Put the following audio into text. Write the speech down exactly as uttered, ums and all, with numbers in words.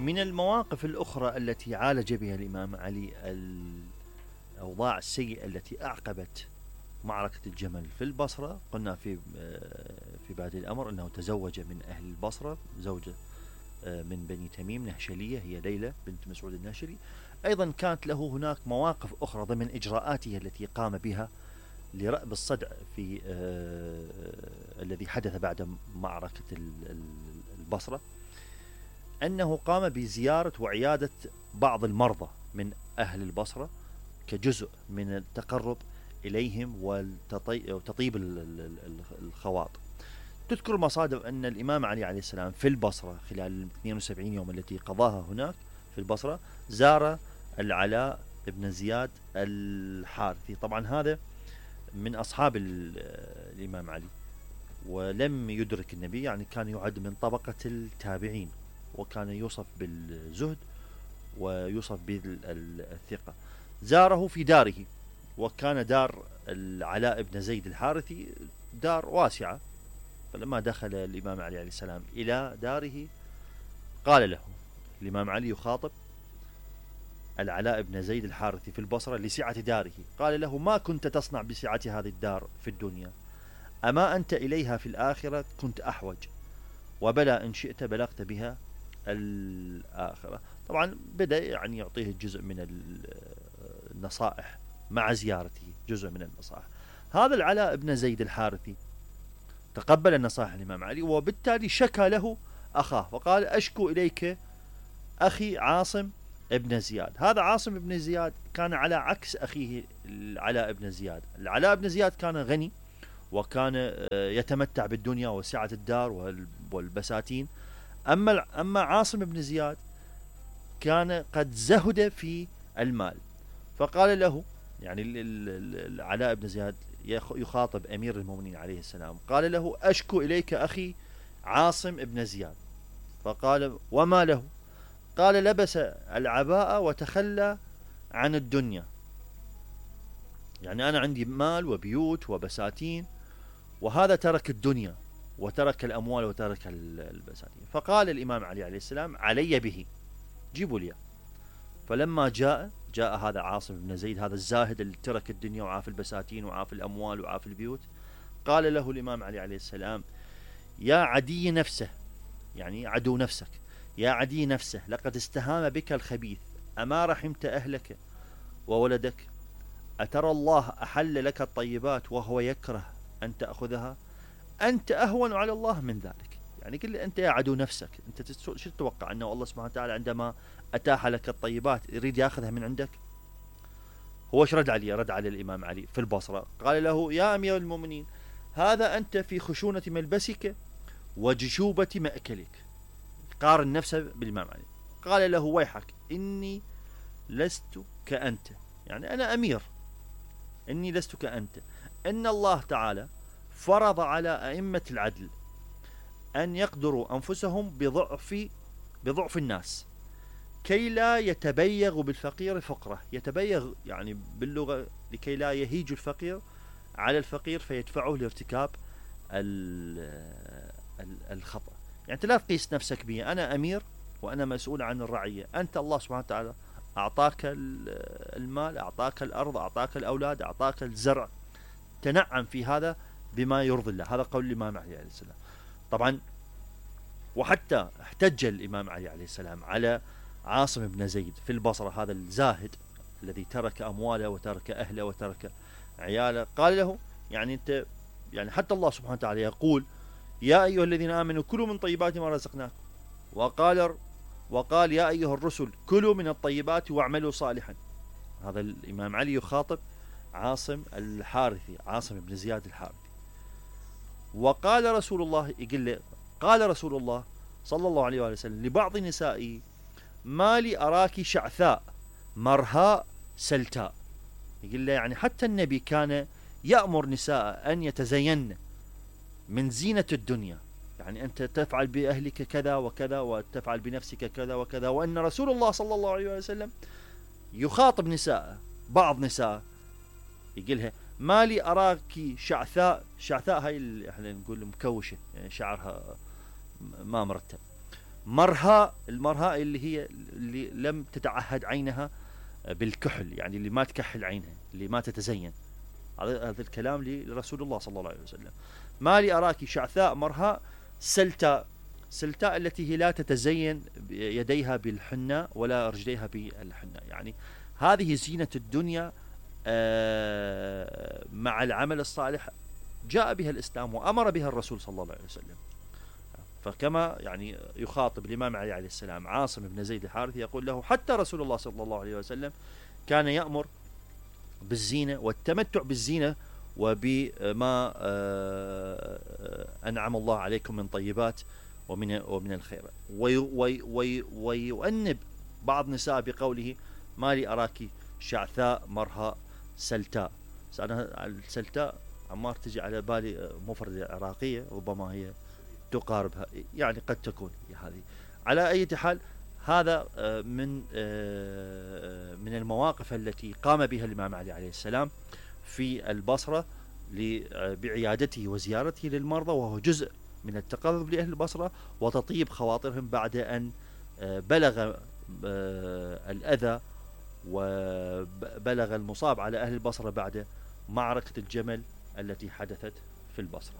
من المواقف الأخرى التي عالج بها الإمام علي الأوضاع السيئة التي أعقبت معركة الجمل في البصرة، قلنا في في بادئ الأمر أنه تزوج من أهل البصرة زوجة من بني تميم نهشلية، هي ليلى بنت مسعود النهشلي. أيضا كانت له هناك مواقف أخرى ضمن إجراءاته التي قام بها لرأب الصدع في آه الذي حدث بعد معركة البصرة، أنه قام بزيارة وعيادة بعض المرضى من أهل البصرة كجزء من التقرب إليهم وتطيب الخواطر. تذكر المصادر أن الإمام علي عليه السلام في البصرة خلال ال اثنين وسبعين يوم التي قضاها هناك في البصرة زار العلاء بن زياد الحارثي. طبعا هذا من أصحاب الإمام علي ولم يدرك النبي، يعني كان يعد من طبقة التابعين، وكان يوصف بالزهد ويوصف بالثقة. زاره في داره، وكان دار العلاء بن زيد الحارثي دار واسعة. فلما دخل الإمام علي عليه السلام إلى داره قال له الإمام علي يخاطب العلاء بن زيد الحارثي في البصرة لسعة داره، قال له: ما كنت تصنع بسعة هذه الدار في الدنيا؟ أما أنت إليها في الآخرة كنت أحوج، وبلى إن شئت بلغت بها الآخرة. طبعا بدأ يعني يعطيه جزء من النصائح مع زيارته، جزء من النصائح. هذا العلاء بن زيد الحارثي تقبل النصائح الإمام علي، وبالتالي شكى له أخاه وقال: أشكو إليك أخي عاصم ابن زياد. هذا عاصم ابن زياد كان على عكس أخيه العلاء بن زياد. العلاء بن زياد كان غني وكان يتمتع بالدنيا وسعة الدار والبساتين، أما أما عاصم بن زياد كان قد زهد في المال. فقال له، يعني العلاء بن زياد يخاطب أمير المؤمنين عليه السلام، قال له: أشكو إليك أخي عاصم بن زياد. فقال: وما له؟ قال: لبس العباءة وتخلى عن الدنيا. يعني أنا عندي مال وبيوت وبساتين، وهذا ترك الدنيا وترك الأموال وترك البساتين. فقال الإمام علي عليه السلام: علي به، جيبوا لي. فلما جاء جاء هذا عاصم بن زيد، هذا الزاهد اللي ترك الدنيا وعاف البساتين وعاف الأموال وعاف البيوت، قال له الإمام علي عليه السلام: يا عدي نفسه، يعني عدو نفسك، يا عدي نفسه، لقد استهام بك الخبيث، أما رحمت أهلك وولدك؟ أترى الله أحل لك الطيبات وهو يكره أن تأخذها؟ أنت أهون على الله من ذلك. يعني قل أنت يا عدو نفسك، أنت شو تتوقع أنه الله سبحانه وتعالى عندما أتاح لك الطيبات يريد يأخذها من عندك؟ هو ايش رد عليه؟ رد على الإمام علي في البصرة قال له: يا أمير المؤمنين، هذا أنت في خشونة ملبسك وجشوبة مأكلك. قارن نفسه بالإمام علي. قال له: ويحك، إني لست كأنت، يعني أنا أمير، إني لست كأنت. إن الله تعالى فرض على أئمة العدل أن يقدروا أنفسهم بضعف بضعف الناس كي لا يتبيغ بالفقير فقره. يتبيغ يعني باللغة لكي لا يهيج الفقير على الفقير فيدفعه لارتكاب الخطأ. يعني لا تقيس نفسك بي، أنا أمير وأنا مسؤول عن الرعية، أنت الله سبحانه وتعالى أعطاك المال، أعطاك الأرض، أعطاك الأولاد، أعطاك الزرع، تنعم في هذا بما يرضي الله. هذا قول الإمام علي عليه السلام. طبعا وحتى احتج الإمام علي عليه السلام على عاصم بن زيد في البصرة، هذا الزاهد الذي ترك أمواله وترك أهله وترك عياله. قال له: يعني أنت، يعني حتى الله سبحانه وتعالى يقول: يا أيها الذين آمنوا كلوا من طيبات ما رزقناكم، وقال وقال يا أيها الرسل كلوا من الطيبات واعملوا صالحا. هذا الإمام علي يخاطب عاصم الحارثي، عاصم بن زياد الحارثي. وقال رسول الله، يقول له: قال رسول الله صلى الله عليه وسلم لبعض نسائه: ما لي أراك شعثاء مرهاء سلتاء. يقول له يعني حتى النبي كان يأمر نساء أن يتزين من زينة الدنيا، يعني أنت تفعل بأهلك كذا وكذا وتفعل بنفسك كذا وكذا. وأن رسول الله صلى الله عليه وسلم يخاطب نساء، بعض نساء يقولها: ما لي أراك شعثاء. شعثاء هاي احنا نقول مكوشة، يعني شعرها ما مرتب. مرهاء، المرهاء اللي هي اللي لم تتعهد عينها بالكحل، يعني اللي ما تكحل عينها، اللي ما تتزين. هذا هذا الكلام لرسول الله صلى الله عليه وسلم. ما لي أراك شعثاء مرهاء سلتاء. سلتاء التي هي لا تتزين يديها بالحنة ولا رجليها بالحنة. يعني هذه زينة الدنيا مع العمل الصالح جاء بها الإسلام وأمر بها الرسول صلى الله عليه وسلم. فكما يعني يخاطب الإمام علي عليه السلام عاصم بن زيد الحارثي يقول له حتى رسول الله صلى الله عليه وسلم كان يأمر بالزينة والتمتع بالزينة وبما أنعم الله عليكم من طيبات ومن ومن الخير. ويؤنب بعض نساء بقوله ما لي أراك شعثاء مرهاء سلتاء. أنا السلتاء عمار تجي على بالي مفردة عراقية، ربما هي تقاربها، يعني قد تكون هذه. على أي حال هذا من من المواقف التي قام بها الإمام علي عليه السلام في البصرة بعيادته وزيارته للمرضى، وهو جزء من التقرب لأهل البصرة وتطيب خواطرهم بعد أن بلغ الأذى وبلغ المصاب على أهل البصرة بعد معركة الجمل التي حدثت في البصرة.